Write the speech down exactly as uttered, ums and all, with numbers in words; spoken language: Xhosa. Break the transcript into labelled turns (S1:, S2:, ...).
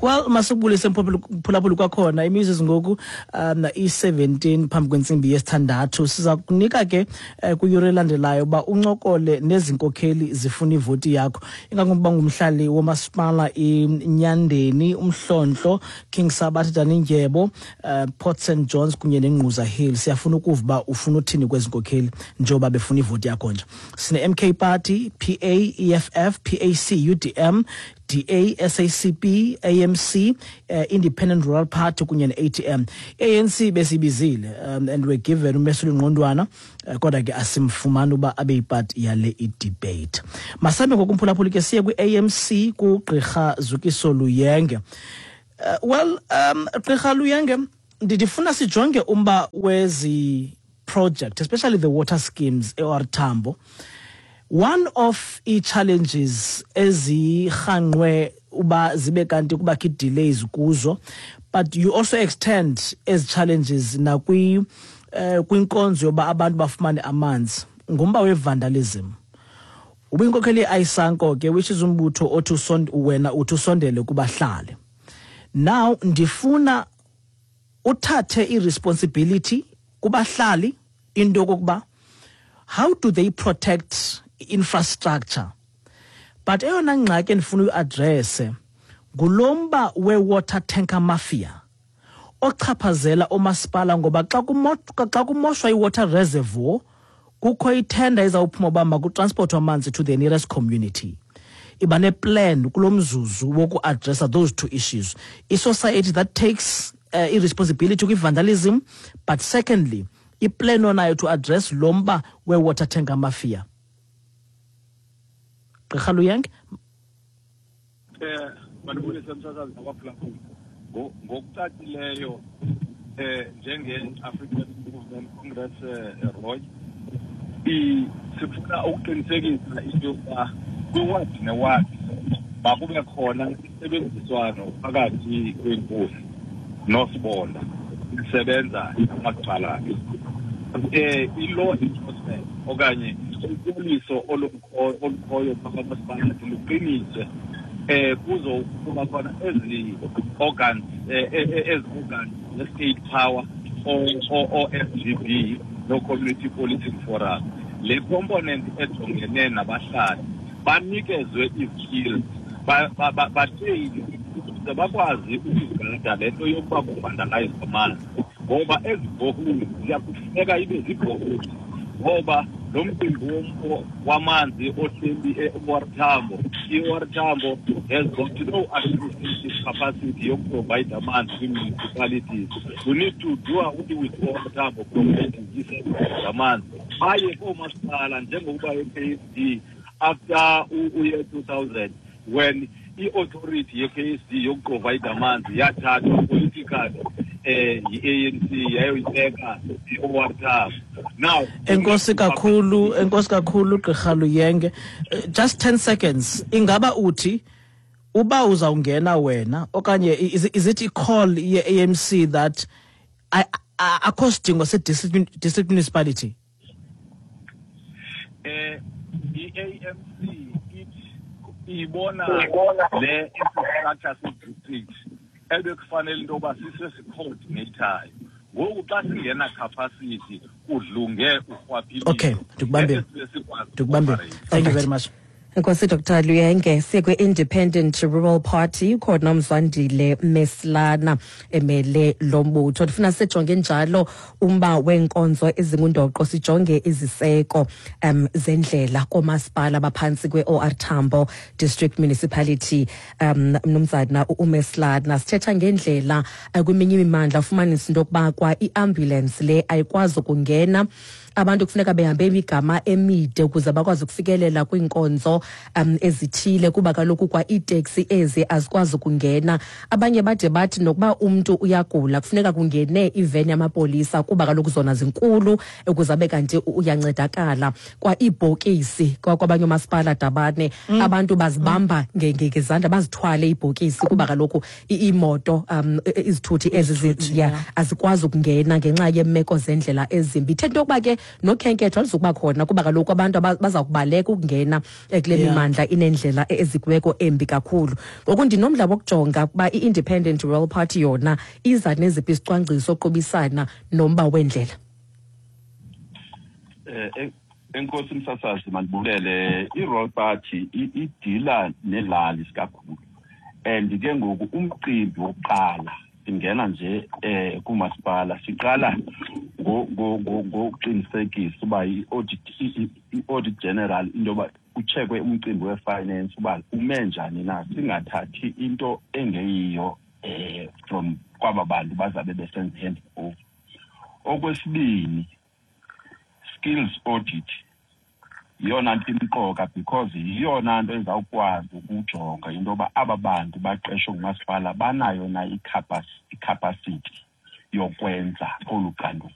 S1: Well, masibulise, mphulaphuli, kwakhona. Imizuzu ngoku um i-seventeen phambi kwentsimbi yesithandathu. Siza kunika ke eh, kwiyure elandelayo uba uncokole nezi nkokheli zifuna ivoti yakho, ingakumbi ngumhlali womasipala iNyandeni, uMhlontlo, King Sabatha, Dalindyebo, uh, Port Saint Johns kunye neNgquza Hill. Siyafuna ukuva uba ufuna uthini kwezi nkokheli njengoba befuna ivoti yakho nje. Sine-M K Party, P A, E F F, P A C, U D M, D A, S A C P, A M C, uh, Independent Rural Party kunye ne-A T M. A N C besibizile um, and we're given uMesuli Ngqondwana, uh, kodwa ke asimfumani uba abe yipart yale i-debate. Masambe ngokumphulaphuli ke siye kwi-A M C, kuGqirha Zukiso Luyenge. Uh, well um Gqirha Luyenge, ndifuna sijonge umba wezi project, especially the water schemes e-O R Tambo. One of i-challenges ezirhanqwe uba zibe kanti kubakho ii-delays kuzo, but you also extend ezi challenges nakwi uh, kwinkonzo yoba abantu bafumane amanzi, ngumba we-vandalism. Ubuyinkokheli ye-AISANCO ke, which is umbutho othi wena uthi usondele kubahlali. Now ndifuna uthathe i-responsibility kubahlali, into yokokuba how do they protect infrastructure? But eyona ngxaki endifuna uyiaddresse ngulo mba we-water tanker mafia ochaphazela omasipala, ngoba xa xa kumoshwa i-water reservoir, kukho ithenda ezawuphuma uba makutransportwe amanzi to the nearest community. Iba neplan kulo mzuzu wokuaddressa those two issues, i-society that takes uh, i-responsibility kwi-vandalism, but secondly, iplan onayo to address lo mba we-water tanker mafia, Gqirha Luyenge?
S2: Eh mandibulise, msasazi nabaphulaphuli. Ngokucacileyo, eh njenge-African Movement Congress, eh, Roy, sifuna ukuqinisekisa into yokuba kwiwadi newadi makube khona isebenziswano phakathi kwenkosi nosibonda isebenza namasipalati, eh i-law enforcement okanye upoliso olukhoyo phaa kwamasipalati luqiniswe, eh kuzokuba khona ezi organs, ezi organs ze-state power, o-F G B no-community policing forum. Le component ejongene nabahlali banikezwe ii-skills, batreyinwe ukuze bakwazi ukuzigada le nto yokuba kuvandalizwa amanzi, ngoba ezi boreholes ziyakufuneka ibe zii-boreholes, ngoba lo mcimbi wamanzi ohleli e-O R Tambo, i-O R Tambo has got no administrative capacity yokuprovide amanzi kwii-municipalities. We need to do away with O R Tambo providing ii-services zamanzi, baye koomasipala, njengokuba e-K S D after uyear two thousand, when i-authority ye-K S D yokuprovide amanzi yathathwa politically eh yi-A N C, yayoyibeka i-O R Tambo. Now
S1: Enkosi kakhulu, enkosi kakhulu, Gqirha Luyenge. Just ten seconds, ingaba uthi uba uzawungena wena okanye is, is it i-call ye-A M C that akho sidingo se-district district municipality?
S2: eh i-A M C ithi ibona le infrastructure se-district ebekufanele into yoba siso sicoordinatayo. Ngoku xa singena capacity, kudlunge urhwaphilizo.
S1: Okay, ndikubambile, ndikubambile. Thank you very much.
S3: Enkosi, Doctor Luyenge. Siye kwi-Independent Rural Party, khona uMzwandile Meslana emele lo mbutho. Ndifuna sijonge njalo umba weenkonzo ezingundoqo, sijonge iziseko um zendlela koomasipala baphantsi kwe-O R Tambo District Municipality. um mnumzana uMeslana, sithetha ngendlela uh, kweminye imimandla ufumanisa into yokuba kwa i-ambulance le ayikwazi ukungena, abantu kufuneka behambe imigama emide ukuze bakwazi ukufikelela kwiinkonzo um ezithile, kuba kaloku kwa iiteksi ezi azikwazi ukungena. Abanye bade bathi nokuba umntu uyagula, kufuneka kungene iveni yamapolisa, kuba kaloku zona zinkulu, ukuze abe kanti uyancedakala. Kwa iibhokisi kwabanye oomasipala dabane mm. abantu bazibamba ngezandla, bazithwale iibhokisi, kuba kaloku iimoto, um izithuthi ezi ya azikwazi ukungena ngenxa yeemeko zendlela ezimbi. Ithetha into yokuba ke Nokhenketho aluzukuba khona, kuba kaloku abantu aba- baza kubaleka ukungena eh, kule
S1: Yeah.
S3: mimandla inendlela ezikweko embi kakhulu. Ngoku ndinomdla wokujonga ukuba i-Independent Rural Party yona iza neziphi izicwangciso oqubisana nomba wendlela.
S4: Eh en- enkosi msasazi, mandibulele. I-Rural Party i- idila nelali kakhulu, and ke ngoku umcimbi wokuqala singena nje eh kumasipala, siqala ngo- ngo- ngo- ngokuqinisekisa uba i-audit i- i- i-audit general, into yoba kucheckwe umcimbi we-finance uba ume njani na, singathathi into engeyiyo eh from kwaba bantu bazabe besenza hand over. Okwesibini, skills audit yiyona nto imqoka, because yiyona nto ezawukwazi ukujonga into yoba aba bantu baqeshwe ngumasipala banayo na icapac- icapacity yokwenza olu xanduva.